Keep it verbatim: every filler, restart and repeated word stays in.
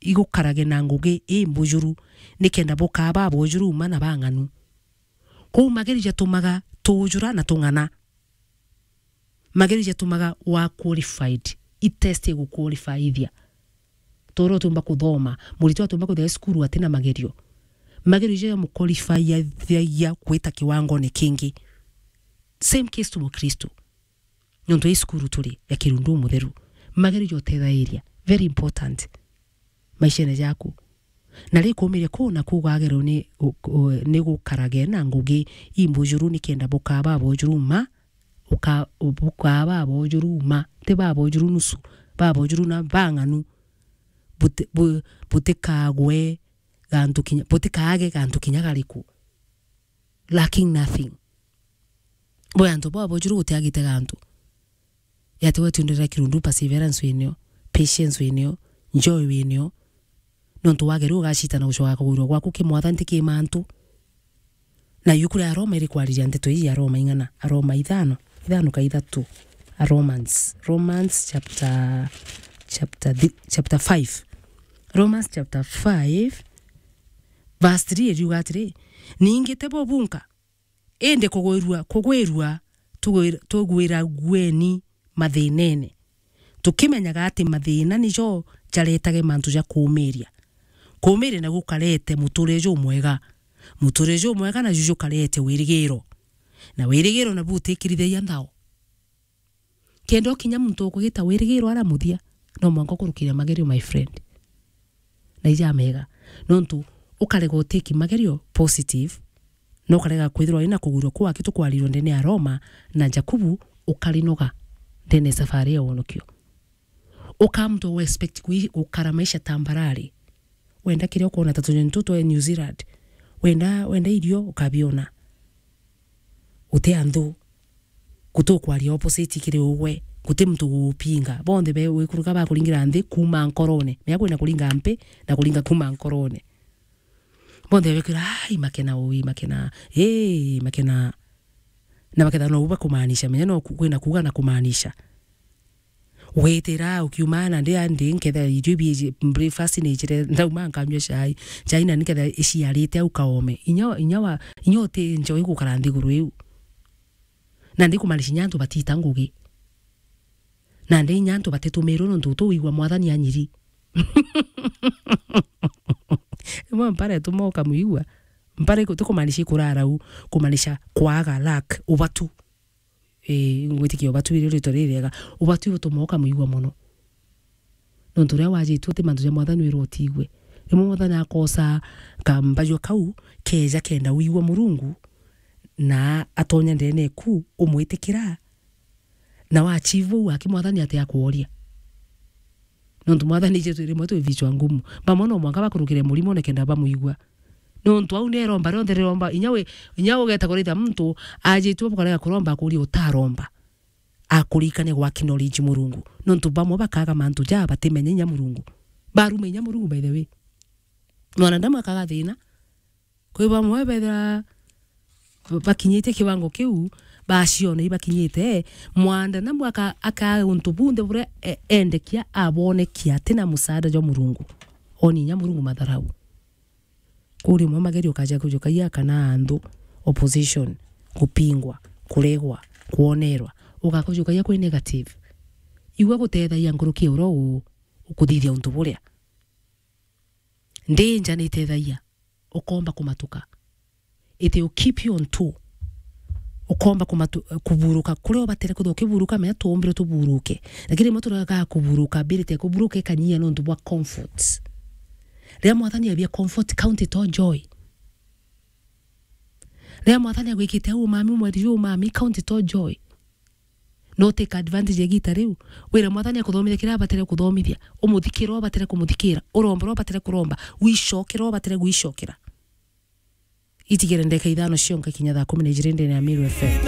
igukarage na ngugi imbujuru, nikenda bukaa babujuru uma na bang'anu. Kou magerio jatumaga tuujura na tung'ana. Magerio jatumaga wa qualified. I test iguqualifyithia. Toro utiumba kuthoma, muritwa atiumba kwithira e cukuru atina magerio. Magerio jaja muqualifyithagia gwita kiwangone kingi. Same case to Mukristo. Nontu i cukuru turi ya Kirundu Mutheru. Magerio joteethairia. Very important. Maishene jaku. Na ri kuumiria kuu na kuu gwagerwa ni, u-, u-, ni gukarage na ngugi imbujuru nikenda bukaa babujuru ma, uka-, bukaa babujuru ma, ti babujuru nusu, babujuru na bang'anu, buti-, bu-, butikagwe gantu kinya, butikaage gantu kinya gariku. Lacking nothing. Bwe antu bwa bujuru gutiagite gantu. Yati we tiundira Kirundu perseverance winio, patience winio, joy winio. Nontu wageria ugacita na gucoka kugwirwa gwaku ki mwathani ti ki mantu. Na yu kuri Aroma iri kwariria nteto ii ya Aroma ing'ana, Aroma ithano, ithano ka ithatu. A Romans, Romans chapter, chapter thi-, chapter five. Romans chapter five, verse three iriuga atiri, ningi ti bo bunka, indi kugwirua, kugwirua, tugwir-, tugwiragueni mathinene, tukimenyaga ati mathina nijo jaretage mantu ja kuumiria. Kuumiria naguo kukarete muturire jumwega. Muturire jumwega naju jukarete wirigiro. Na wirigiro nabu utikirithagia nthao. Kenda ukinya muntu ukugita wirigiro ara muthia, no mwanka ukurukire magerio, my friend. Na ija mega. Nontu ukarega utiki magerio positive, na ukarega kwithirwa wina kugwirua kuu aki tukwarirwe ndene ya Roma na Jakubu, ukarinoga ndene ya safari ya wonokio. Ukaa muntu u expect kui-, gukara maisha tambarare. Wenda kiria ukwona ta tunyoni tutu twa New Zealand. Wenda, wenda irio ukabiona. Uti anthu. Gutukwaria opposite kiri ugwe. Guti muntu gugupinga. Bonthe be wikuruka bakuringira nthi kuuma nkorone. Mea kwina kuringa mpi na kuringa kuuma nkorone. Bonthe bekwira, "Ai, makena ui, makena. Ii, makena." Na bakethira no u bakumaanisha. Menya no ku-, kwina kuuga na kumaanisha. Witira ukiuma na ndi, ndi nkethira irio bi-, breakfast ni ijire, ndauma nkanyua chai. Chai na nkethira iciarite au kaome. Inya, inya wa, inya uti njoi gukara nthiguru iu. Na ndi kumaanisha inya antu batiita ngugi. Na ndi inya antu batitumirwe nontu tu wigua mwathani anyiri. Imwe mpara ituma ukamwigua. Mpara iku-, ti kumaanisha ikurara u, kumaanisha kwaga, lack, ubatu. Ii, ngwitikia ubatu irio rito ririega. Ubatu ibutuma ukamwigua mono. Nontu riria wajitue ti mantu ja mwathani wirwo utigue. Rimwe mwathani akosa kambajua kau keja kenda wigua Murungu, na atonya ndene eku umwitikira, na wachivu uu aki mwathani ati akworia. Nontu mwathani jetu rimwe twi vichwa ngumu. Bamwe no mwanka bakurukire murimo nikenda bamwigua. Nontu au ni iromba rionthe riromba, inya wi, inya ugeta kuritha muntu ajitue bukarega kuromba akuria utaromba. Akurikania gwa acknowledge Murungu. Nontu bamwe bakaga mantu ja batimenya inya Murungu. Baruma inya Murungu by the way. Mwanadamu akaga thina. Kwi bamwe bethira bakinyite kiwango kiu, baciona ibakinyite, mwanadamu aka-, akaa untu bunthe buria e-, endekia abonekia atina musaada jwa Murungu. Oni inya Murungu matharau. Kuu rimwe magerio ukaja kujukagia kana anthu, opposition, kupingwa, kuregwa, kwonerwa, ugakujukagia kwi negative. Igua gutethagia nkuruki ya uria u-, ukuthithia untu buria. Ndi nja ni itethagia. Ukomba kumatuka. It will keep you on tour. Ukomba kumatu-, kuburuka. Kuria ubatire kwithirwa ukiburuka, menya tuumbirwe tuburuke. Lakini rimwe turaga kuburuka, ability ya kuburuka ikanyia nontu bwa comfort. Riria mwathani abia comfort, count it all joy. Riria mwathani agwikite au umami, umweri ju umami, count it all joy. No take advantage ya igita riu. Wire mwathani akuthomithia kiria abatire kuthomithia. Umuthikira uria ubatire kumuthikira. Uromba uria ubatire kuromba. Wicokera uria ubatire gwicokera. Itigire ndeka ithano cionka kinya thaa kumi na ijiri ndene ya Meru F M.